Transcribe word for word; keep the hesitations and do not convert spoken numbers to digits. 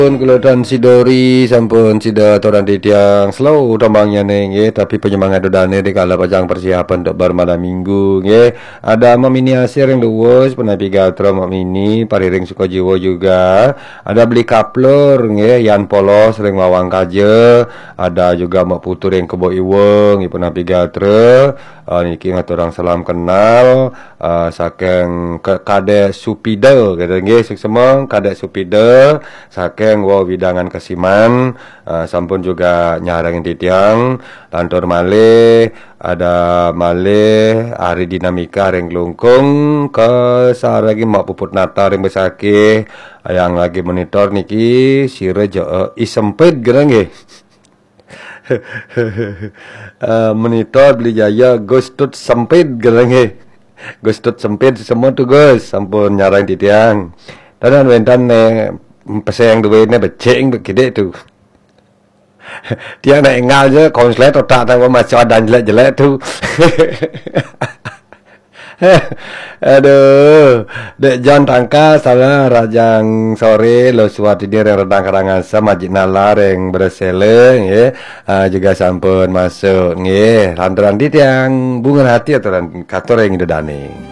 Pun kula Tan Sidori sampun sida aturan titiang slow tembangnya nggih, tapi penyemangat dodane di kala pacang persiapan untuk bar malam minggu nggih. Ada Mak Mini Asir yang duwus, penapi gatra Mak Mini, pariring suka jiwa juga. Ada Beli Kaplur nggih, Yan Polos ring Wawang Kaja. Ada juga Mak Putu ring Kebo Iweng, penapi gatra. Ah, niki ngaturang salam kenal, ah, saking Ke-, Kadek Supida, gitu nggih, suksema Kadek Supida, saking wewidangan Kesiman, ah, sampun juga nyarengin titiang, lantur malih, ada malih Ari Dinamika ring Klungkung, kasarengin Mak Puput Nata ring Besakih, yang lagi monitor niki, sira ja, eh, isempit, gitu nggih. Eh, monitor Beli Jaya, Gus Tut Sempit, gitu nggih. Gus Tut Sempit, semua tu Gus, sampun nyarang titiang. Tanan wentan ne peseng duwene becing begidik tu. Tiang nak enggal je, konslet otak tang masih ada jelek-jelek tu. Aduh, Dek John Tangka, salah rajang sore, lo suat ini reng Redang Karangasem, Majik Nalar, reng Beresele, nggih. Ah, juga sampun masuk, nggih. Lantaran titiang, bunga hati aturan katur ring Ida Daning.